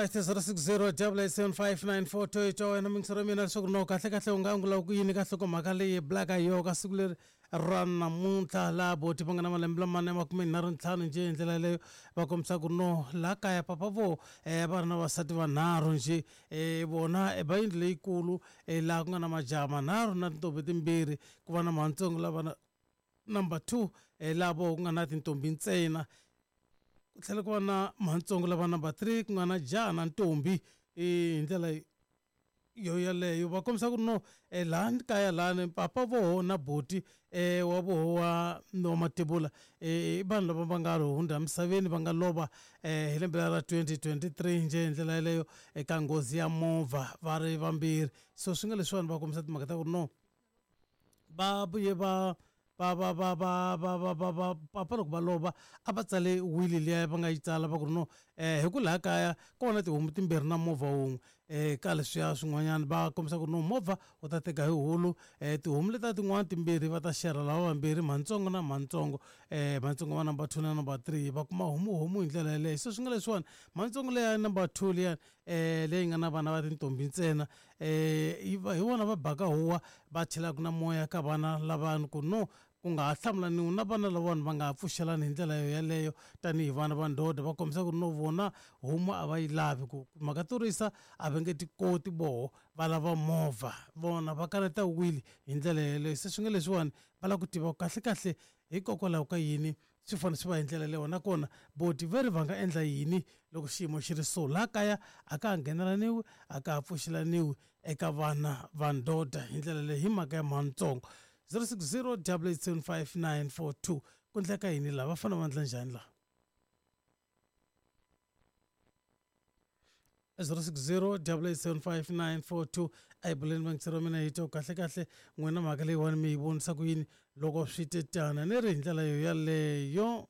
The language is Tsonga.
Alright, 060 875 hi twa wena mingisero mina leswaku no kahle kahle u nga angula ku yini ka nhlokomhaka leyi bulaka hi yona ka siku leri ra namuntlha laha boti va nga na malembe lamane 35 njhe hi ndlela yaleyo va kombisa ku no laha kaya papa vo va ri na vasati vanharhu njhe vona va yindlu leyikulu laha ku nga na majaha manharhu na tintombi timbirhi ku va na matsongo lava na number 2 laha vo ku nga na tintombi ntsena ku tlhela ku va na mhantsongo lava number 3 ku nga na jaha na ntombi hi ndlela yo yaleyo va kombisa ku ri no laha kaya lani papa voho na boti wa voho wa wa mativula i vanhu lava va nga hundza emisaveni va nga lova hi lembe ra 2023 njhe hi ndlela yaleyo eka nghozi ya movha va ri vambirhi so swi nga leswiwani va kombisa timhaka ta ku ri no va vuye va va va va va va va va va papa loko va lova a va tsale wili liya va nga yi tsala va ku ri no hi ku laha kaya ko va na tihomu timbirhi na movha wun'we ka leswiya swin'wanyana va kombisa ku ri no movha wu ta teka hi hulu tihomu letiya tin'wana timbirhi va ta xerha lava vambirhi mhantsongo na mhantsongo mhantsongo va number 2 na number 3 va kuma homu homu hi ndlela yaleyo se swi nga leswiwani mhantsongo leya number 2 liyani leyi nga na vana va tintombi ntsena hi vona va baka huwa va chelaka na moya ka vana lavani ku no ku nga ha hlamulaniwi na vana lavawani va nga ha pfuxelani hi ndlela yo yaleyo tanihi vana va ndhodha va kombisa ku ri no vona homu a va yi lavi ku mhaka to risa a va nge ti koti voho va lava movha vona va kaneta wili hi ndlela yeleyo se swi nga leswiwani va lava ku tiva kahlekahle hikokwalaho ka yini swi fanele swi va hi ndlela leyo nakona boti ve ri va nga endla yini loko xiyimo xi ri so laha kaya a ka ha nghenelaniwi a ka ha pfuxelaniwi eka vana va ndhodha hi ndlela leyi hi mhaka ya mhanitsongo 060 875 ku endleka yini laha va fanele va endla njhani laha 060 875 a hi buleni vangitseri wa mina hi twa kahle kahle n'wina mhaka leyiwani mi yi vonisa ku yini loko swi te tana ni ri hi ndlela yo yaleyo.